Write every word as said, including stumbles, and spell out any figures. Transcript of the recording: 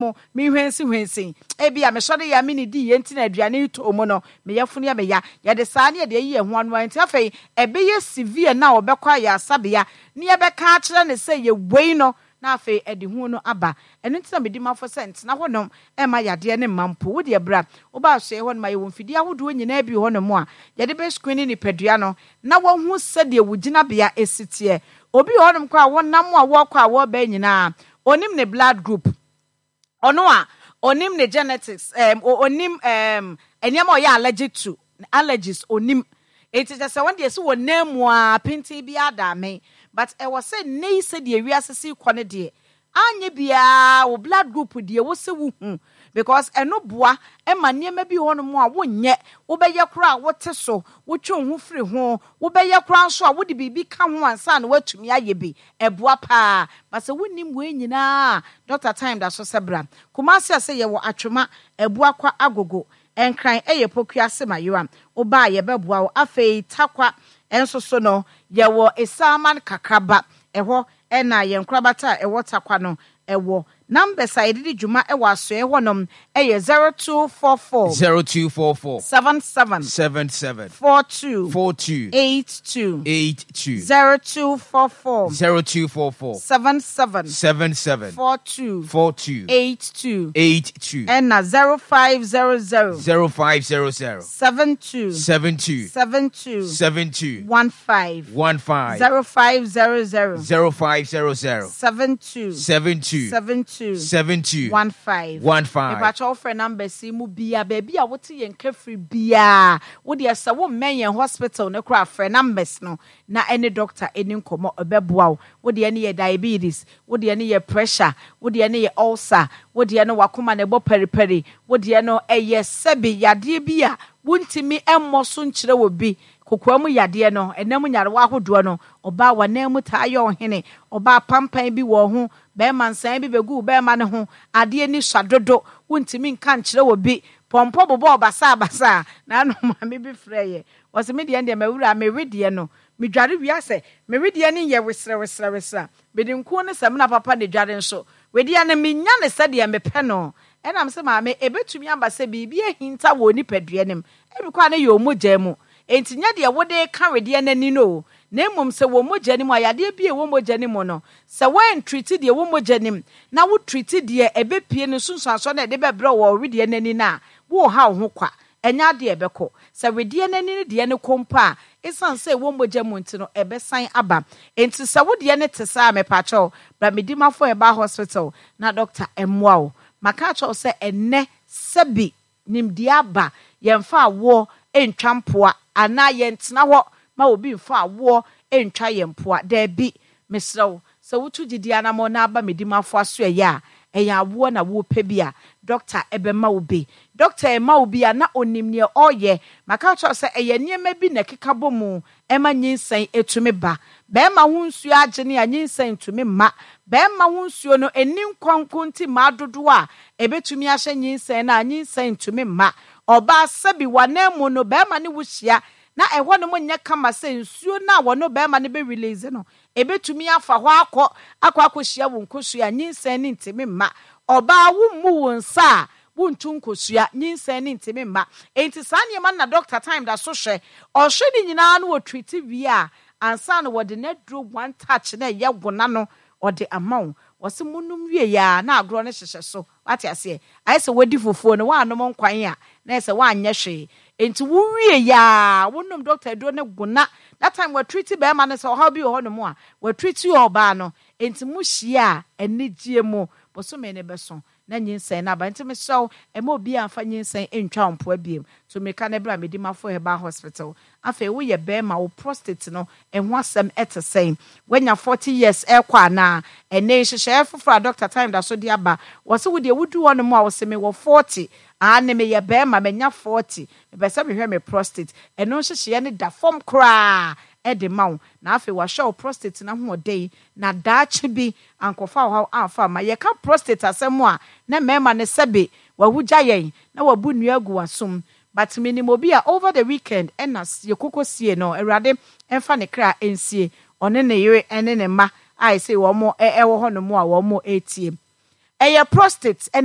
Mu mehwansi ebi a mesɔre yɛ a mene di yɛ nti na aduane yi tɔ mu no, me yafunu yɛ me ya. Yɛde saa ne yɛde ayi yɛn ho ano. Nti afei ɛbɛyɛ severe na wɔbɛkɔ ayɛ asabea ne yɛbɛka akyerɛ ne sɛ yɛwei no, na afei ɛde hu no aba. Ɛno nti na medi mafo sɛ ntena hɔnom ɛma yadeɛ ne mma mpo. Wodeɛ bra, woba asoɛ hɔ nom a, yɛwɔ mfidie ahodoɔ nyinaa bi wɔ hɔnom a yɛde bɛ screen nipadua no na wɔhu sɛdeɛ wo gyinabea esi teɛ. Obi wɔ hɔnom kɔ a wɔnam a wɔrekɔ a wɔreba nyinaa, onim ne blood group, ɔno a onim ne genetics, um, onim um, nneɛma a ɔyɛ allergic to, allergies onim. Eti kyɛ sɛ wɔn deɛ si wɔ nan mu a penten bi adame, but ɛwɔ sɛ nne yi sɛdeɛ wiase si kɔ ne deɛ anyɛ biara, wo blood group deɛ wɔ sɛ wohu, because ɛno boa ɛma nneɛma bi wɔ hɔnom a wonyɛ, wobɛyɛ koraa a wote so, wotwe wo ho firi ho, wobɛyɛ koraa nso a wode biribi ka ho ansa na woatumi ayɛ bi. Ɛboa paa. Ba sɛ wonnim wei nyinaa, Doctor Time da so sɛ bra Kumase a sɛ yɛwɔ Atwoma Abuakwa Agogo, Nkran ɛyɛ Pokuase Mayera. Wobaa yɛbɛboa wo. Afei Takwa ɛnso so no, yɛwɔ Esaman Kakraba ɛhɔ, ɛna yɛn nkorabata a ɛwɔ Takwa no ɛwɔ. Numbers a yɛde di dwuma ɛwɔ asoɛ hɔnom ɛyɛ zero two four four, zero two four four, seven seven, seven seven, four two, four two, eight two. eight two. zero two four four, zero two four four, seven seven, seven seven, four two, four two, eight two. eight two. Ɛna zero five zero zero, zero five zero zero, seven two, seven two, seven two, seven two, one five. one five. zero five zero zero, zero five zero zero, seven two, seven two, seven two, seven two, one five. one five. Mepakyɛ, wofrɛ numbers yi mu bia, baabi a wote yɛn kafiri biaa, wodeɛ sɛ wommɛn yɛn hospital no koraa, frɛ numbers no na ɛne doctor ɛni nkɔmmɔ, ɛbɛboa wo. Wodeɛ no yɛ diabetes, wodeɛ no yɛ pressure, wodeɛ no yɛ ulcer, wodeɛ no wakoma na ɛbɔ paripari, wodeɛ no ɛyɛ sɛbi yadeɛ bi a wontumi ɛmmɔ so nkyerɛ wɔ bi, kokoa mu yadeɛ no, ɛnam nyarewa ahodoɔ no, ɔbaa wanan mu taa yɛ ɔhene, ɔbaa pampan bi wɔ ho, bɛrima nsan bi bɛgu bɛrima no ho, adeɛ ni sua dodo, wontumi nka nkyerɛ wɔ bi, pɔmpɔ bobɔ basabasa. Na ano maame bi frɛ yɛ, wɔsɛ me deɛ deɛ mawura mewe deɛ no, medware wia sɛ mewe deɛ no yɛ weserɛ weserɛ weserɛ, mede nkuo ne sɛmina papa ne dware nso wedeɛ no menya ne sɛdeɛ mepɛ no. Ɛnam sɛ maame ebetumi aba sɛ biribi ahinta wɔ nipadua no mu, ebi kɔ a ne yɛ ɔmogya mu, enti nyɛ deɛ wode ka wedeɛ n'ani no o, na mmom sɛ wɔ mogya no mu a, yadeɛ bi a ɛwɔ mogya no mu no, sɛ woantreat deɛ wɔ mogya no mu na wotreat deɛ ɛbɛpie no nsunsuansoɔ no a ɛde bɛbrɛ wɔ wedeɛ n'ani no a, woreha wo ho kwa. Ɛnyɛ adeɛ ɛbɛkɔ sɛ wedeɛ n'ani no deɛ no kɔ mpo a, ɛsiane sɛ ɛwɔ mogya mu nti no, ɛbɛsan aba. Enti sɛ wodeɛ no te saa a, mepakyɛw, bra Medimafo Herbal Hospital na doctor ɛmmoa wo. Maka akyerɛw sɛ ɛnnɛ sɛbi nimdeɛ aba, yɛmfa awoɔ ntwa mpoa anaa yɛntena hɔ ma obi mfa awoɔ ntwa yɛn mpoa. Daabi, mesrɛ wo, sɛ wotu gyidi anammɔ na aba Medimafo aso, ɛyɛ a ɛyɛ awoɔ na wopɛ bi a, doctor ɛbɛma wo bi. Doctor ɛma wo bi a, na onim nea ɔreyɛ. Maka kyerɛw sɛ ɛyɛ nneɛma bi na ɛkeka bɔ mu ɛma nyinsɛn etumi ba. Bɛrima ho nsuo agye ne a, nyinsɛn ntumi mma. Bɛrima ho nsuo no ɛni nkɔnko nti mmaa dodoɔ a ɛbɛtumi ahyɛ nyinsɛn no a, nyinsɛn ntumi mma. Ɔbaa, sɛbi, wanan mu no, bɛrima ne wo hyia na ɛhɔ nom nyɛ kama sɛ nsuo no a wɔne bɛrima no bɛ release no ebɛtumi afa hɔ akɔ akɔ akɔhyia wo nkosua a, nyinsɛn ne ntumi mma. Ɔbaa, wo mmu wo nsa a, wontu nkosua, nyinsɛn ne ntumi mma. Enti saa nneɛma no na Doctor Time da so hwɛ. Ɔhwɛ ne nyinaa no, wɔ treat wie a, ansa na wɔde n'aduro One Touch na ɛyɛ wona no ɔde ama wo. Wɔsi munum wie ya na agorɔ no hyehyɛ so. Wate aseɛ? Ayɛ sɛ wadi fufuo no, woanom nkwan a, na yɛ sɛ woanyɛ hwee. Enti wowie yaa, wonom doctor aduro no gona. That time wɔatreat bɛrima no sɛ ɔhaw bi wɔ hɔnom a, wɔatreat ɔbaa no. Enti mo hyia a, anigye mu bosome ne bɛso na nyinsɛn no aba. Nti mesrɛ wo, ɛma obi amfa nyinsɛn ntwa wo mpoa biem. To mmirika no berɛ a Medimafo Herbal Hospital. Afei woyɛ bɛrima, wo prostate no ɛho asɛm ɛte sɛn? Woanya forty years ɛkɔ anaa? Ɛnɛ nhyehyɛeɛ foforɔ a Doctor Time da so de aba, wɔ sɛ wodeɛ wodu hɔ nom a, wɔsɛ mewɔ forty aa ne meyɛ bɛrima, manya forty, mepɛ sɛ mehwɛ me prostate. Ɛno nhyehyɛeɛ no da fam koraa ɛde ma wo, na afei wahyɛ wo prostate no ahoɔden na daakye bi ankɔfa wo haw amfa ama. Yɛka prostate asɛm a, na mmarima no sɛbe wahugya yɛn na wabu nnua agu w'asom, but menim obi a over the weekend ɛna yɛkoko sie no. Awurade ɛmfa ne kra nsie, ɔne ne yere ɛne ne mma a ɛsɛ wɔn ɛwɔ hɔnom a wɔn ɛretie. Ɛyɛ prostate ɛna